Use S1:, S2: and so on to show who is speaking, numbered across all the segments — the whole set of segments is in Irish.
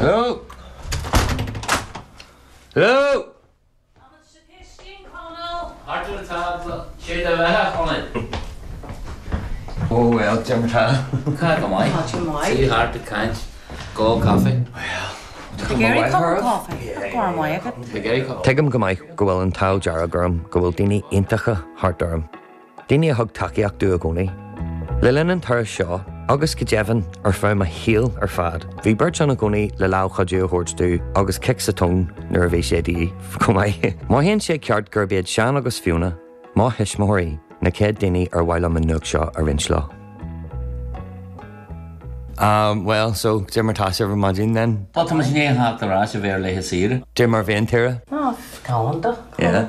S1: Hello? Hello?
S2: Táimid sa chistin, Conall.
S3: Thart ar an tábla, sé do bheatha, a Chonaill.
S1: Oh well, cad é mar tá.
S3: Tá go maith.
S2: Tá tú maith.
S3: Suí thart ag caint, ag ól caife.
S1: Well,
S2: Tá tú ag iarraidh cup of coffee? Tá go maith agat.
S3: Tá ag iarraidh cup.
S1: Tuigim go maith go bhfuil an t-ádh dearg orm go bhfuil daoine iontacha thart orm. Daoine a thug tacaíocht domh i gcónaí. Le linn an turais seo, agus go deimhin ar feadh mo shaoil ar fad, bhí beirt ann i gcónaí le lámh chuidiú a thabhairt domh agus cic sa tóin nuair a bhí sé de dhíth chomh maith. Mothaíonn sé ceart gurb iad Seán agus Fiona, mo thuismitheoirí, na chéad daoine ar mhaith liom an nuacht seo a roinnt leo. Um, well, so, cad é mar tá sibh ar maidin then?
S3: Bhuel, tá muid i ndiaidh theacht ar ais ó bheith ar laetha saoire.
S1: Cad é mar bhí an tsaoire?
S2: Ah, galánta.
S1: Yeah.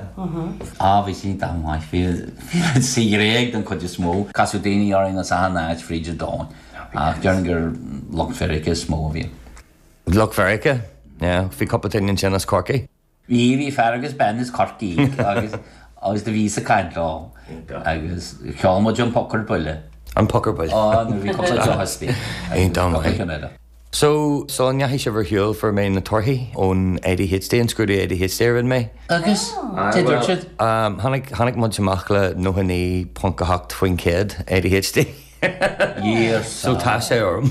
S3: Ah, bhí sí iontach maith. Bhí bhí sa Ghréig don chuid is mó. Casadh daoine orainn as achan áit fríd an domhan. Ach déarfainn gur lucht Mheiriceá is mó a bhí ann.
S1: Lucht Mheiriceá? Yeah. Bhí cúpla duine ansin as Corcaigh.
S3: Bhí, bhí fear agus bean as Corcaigh agus agus do bhíos ag caint leo agus cheol muid an Poc ar Buile.
S1: An Poc ar Buile.
S3: Á, nuair a bhí cúpla deoch istigh agus
S1: Iontach
S3: cúpla
S1: maith.
S3: ceann eile.
S1: So, sula ndeachaigh sibh ar shiúl fuair mé na torthaí ón ADHD, an scrúdú ADHD a rinne mé.
S3: Agus? Cad a dúirt siad?
S1: Tháinig, tháinig muid amach le 99.8% ADHD.
S3: Yes.
S1: So tá sé orm.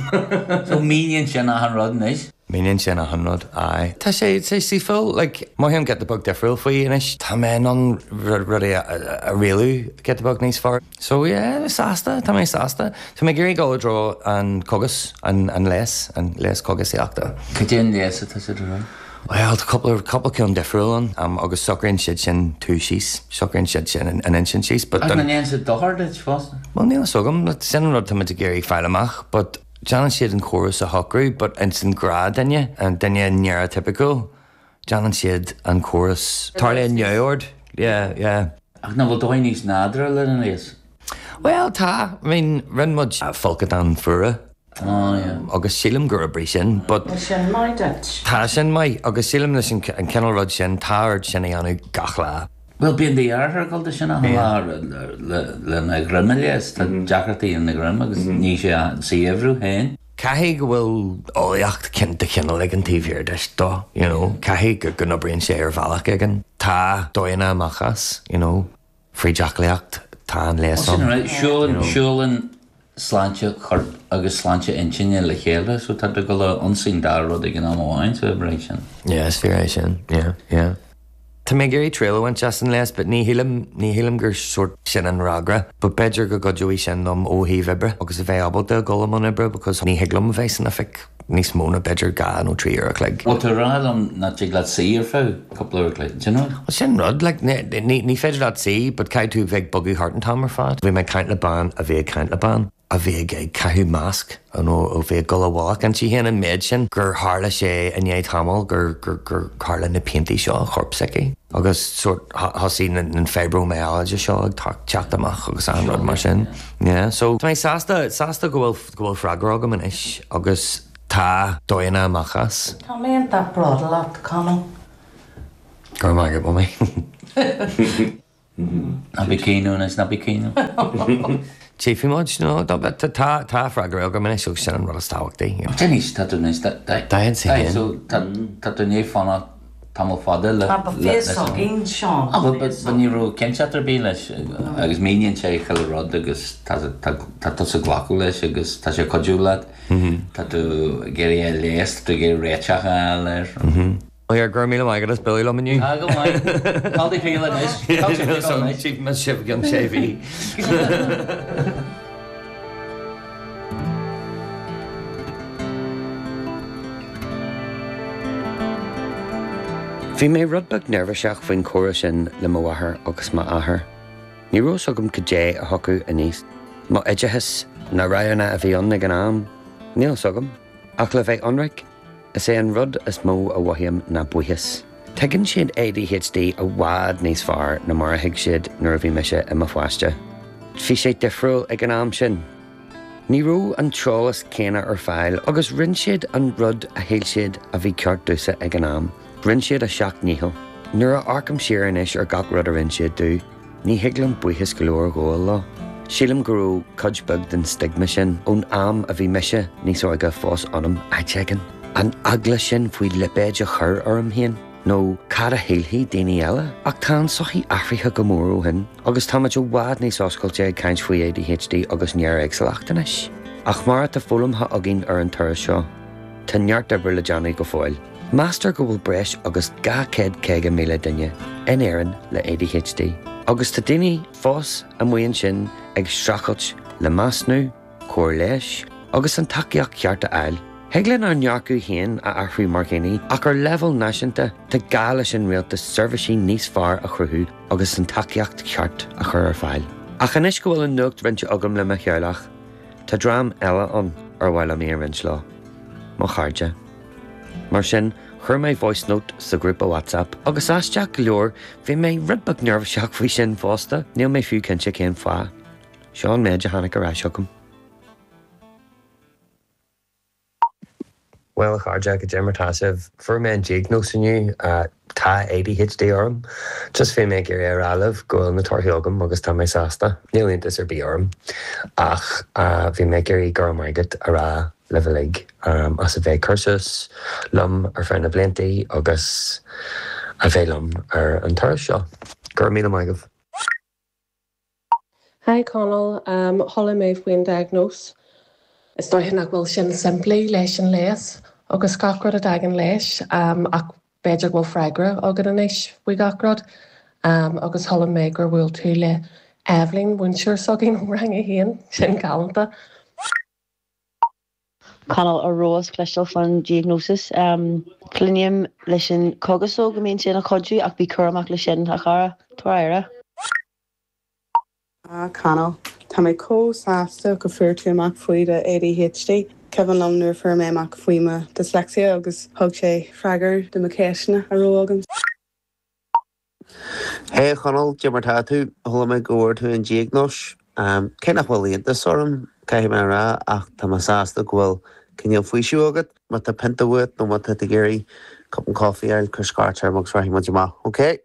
S3: So míníonn sin achan rud anois.
S1: Míníonn sin achan rud, aye. Tá sé, tá sé saoithiúil, like, mothaím giota beag difriúil faoi anois. Tá mé in ann rudaí a rialú giota beag níos fearr. So yeah, sásta, tá mé sásta. Tá mé ag iarraidh dul i dtreo an cógas, an leigheas, an leigheas cógasaíochta.
S3: Cad é an leigheas atá siad a rá?
S1: Bhuel, tá cúpla, cúpla ceann difriúil ann agus socraíonn siad sin tú síos, socraíonn siad sin an intinn síos but
S3: Ach an ndéanann siad dochar duit fosta?
S1: Bhuel, níl a fhios agam, sin an rud tá muid ag iarraidh fáil amach but déanann siad an córas a shocrú but ins an gnáthdhuine, an duine néaraitipiciúil, déanann siad an córas, tarlaíonn neamhord, yeah, yeah.
S3: Ach nach bhfuil dóigh níos nádúrtha le an leigheas?
S1: Bhuel, tá, I mean, rinne muid folcadán fuara.
S3: Ah, yeah.
S1: Agus sílim gur oibrigh sin, but.
S2: Tá sin maith duit.
S1: Tá sin maith, agus sílim leis an cineál rud sin, tá ort sin a dhéanamh gach lá.
S3: Bhuel, bíonn do dheartháir ag dul do sin achan lá lena dhroim a leigheas, tá deacrachtaí ina dhroim agus ní sé saothar féin.
S1: Caithfidh go bhfuil eolaíocht de chineál éigin taobh thiar de dó, you know, caithfidh go n-oibríonn sé ar bhealach éigin. Tá dóigheanna amach as, you know. Fríd aclaíocht, tá an leigheas
S3: Sin
S1: ann.
S3: right, siúlann, siúlann sláinte choirp agus sláinte intinne le chéile, so tá tú ag dul a ionsaí an dá rud ag an am amháin, so oibreoidh sin.
S1: Yeah, is fíor é sin, yeah, yeah. Tá mé ag iarraidh triail a bhaint as an leigheas, but ní shílim, ní shílim gur sórt sin an fhreagra, but b'fhéidir go gcuideoidh sin liom ó thaobh oibre agus a bheith ábalta a dhul i mbun oibre because ní thig liom a bheith san oifig níos mó ná b'fhéidir 2 nó 3 uair a chloig.
S3: Bhfuil tú ag rá liom nach dtig leat suí ar feadh cúpla uair a chloig, do you know?
S1: Bhuel sin rud, like, ní, ní féidir leat suí but caithfidh tú bheith ag bogadh thart an t-am ar fad. Bhí mé ag caint le bean a bhí ag caint le bean a bhí ag, ag caitheamh masc, you know, a bhí ag dul i bhfolach inti féin an méid sin gur tharla sé i ndiaidh tamaill gur, gur, gur tharla na piantaí seo i chorp s'aici agus sórt thosaigh na, an fibromyalgia seo ag teacht amach agus achan rud mar sin. Yeah, so tá mé sásta, sásta go bhfuil go bhfuil freagra agam anois agus tá dóigheanna amach as.
S2: Tá mé iontach bródúil leat, Conall.
S1: Go raibh maith agat, Mamaí.
S3: Ná bí ag caoineadh anois, ná bí ag caoineadh.
S1: Tchífidh muid, no, tá, tá freagra agam anois agus sin an rud is tábhachtaí.
S3: Anois, tá tú anois,
S1: 41.
S3: So, tá tú i ndiaidh fanacht tamall fada le.
S2: Tá fios againn, Seán.
S3: Ah, but but ní raibh cinnteacht ar bith leis agus míníonn sé chuile rud agus tá tá tusa ag glacadh leis agus tá sé ag cuidiú leat. Tá tú ag iarraidh é a leigheas, tá tú ag iarraidh réiteach a fháil air.
S1: Well, go raibh míle maith agat as bualadh liom inniu.
S3: Ah, go maith. Cá do thriall anois? Cá sibh anois?
S1: Tchífidh mé sibh i gceann sé mhí. Bhí mé rud beag neirbhíseach faoin chomhrá sin le mo mháthair agus m'athair. Ní raibh fhios agam cad é a thiocfadh aníos. M'oideachas, na roghanna a bhí ann ag an am, níl fhios agam. Ach le bheith ionraic, is é an rud is mó a mhothaím ná buíochas. Tuigeann siad ADHD i bhfad níos fearr ná mar a thuig siad nuair a bhí mise i mo pháiste. Bhí sé difriúil ag an am sin. Ní raibh an t-eolas céanna ar fáil agus rinne siad an rud a shíl siad a bhí ceart domhsa ag an am. Rinne siad a seacht ndícheall. Nuair a amharcaim siar anois ar gach rud a rinne siad domh, ní thig liom buíochas go leor a ghabháil leo. Sílim go raibh cuid beag den stigma sin ón am a bhí mise níos óige fós ionam áit éigin. An eagla sin faoi lipéid a chur orm féin, nó cad a shílfidh daoine eile? Ach tá an tsochaí athraithe go mór ó shin, agus táimid i bhfad níos oscailte ag caint faoi ADHD agus néaréagsúlacht anois. Ach mar atá foghlamtha againn ar an turas seo, tá neart oibre le déanamh go fóill. Meastar go bhfuil breis agus 250,000 duine in Éirinn le ADHD, agus tá daoine fós amuigh ansin ag streachailt le measúnú, cóir leighis agus an tacaíocht cheart a fháil. Thig linn ár ndearcadh féin a athrú mar dhaoine ach ar leibhéal náisiúnta tá gá leis an rialtas seirbhísí níos fearr a chruthú agus an tacaíocht cheart a chur ar fáil. Ach anois go bhfuil an nuacht roinnte agam le mo theaghlach, tá dream eile ann ar mhaith liom í a roinnt leo. Mo chairde. Mar sin, chuir mé voice note sa ghrúpa WhatsApp agus aisteach go leor bhí mé rud beag neirbhíseach faoi sin fosta, níl mé fiú cinnte cén fáth. Seo an méid a tháinig ar ais chugam. Bhuel a chairde, goidé mar tá sibh? Fuair mé an diagnóis inniu, tá ADHD orm. Just bhí mé ag iarraidh a rá libh go bhfuil na torthaí agam agus tá mé sásta. Níl iontas ar bith orm ach bhí mé ag iarraidh go raibh maith agat a rá libh uilig as a bheith ag cur suas liom ar feadh na blianta agus a bheith liom ar an turas seo. Go raibh míle maith agaibh.
S4: Hi Conall, chuala mé faoin diagnóis. Is dóiche nach bhfuil sin simplí leis an leigheas agus gach rud a dtagann leis ach b'fhéidir go bhfuil freagra agat anois faoi gach rud. Agus chuala mé gur bhuail tú le Eibhlín, múinteoir s'againn ó rang a haon, sin galánta.
S5: Conall, an rabhais ag cloisteáil faoin diagnosis. Cluinim leis an cogas go mbíonn sé ina chuidiú ach bí cúramach leis sin, a chara. Tabhair aire.
S6: Ah Conall, tá mé chomh sásta go fuair tú amach faoi do ADHD. Cuimhin liom nuair a fuair mé amach faoi mo dyslexia agus thug sé freagair do mo ceisteanna a raibh agam.
S7: Hey a Chonaill, cad é mar tá tú? Chuala mé go bhfuair tú an diagnóis. Cé nach bhfuil iontas orm, caithfidh mé a rá, ach tá mé sásta go bhfuil cineál faoiseamh agat. Má tá pionta uait nó má tá tú ag iarraidh cupán coffee a fháil, cuir scairt orm agus rachaidh muid amach, ok?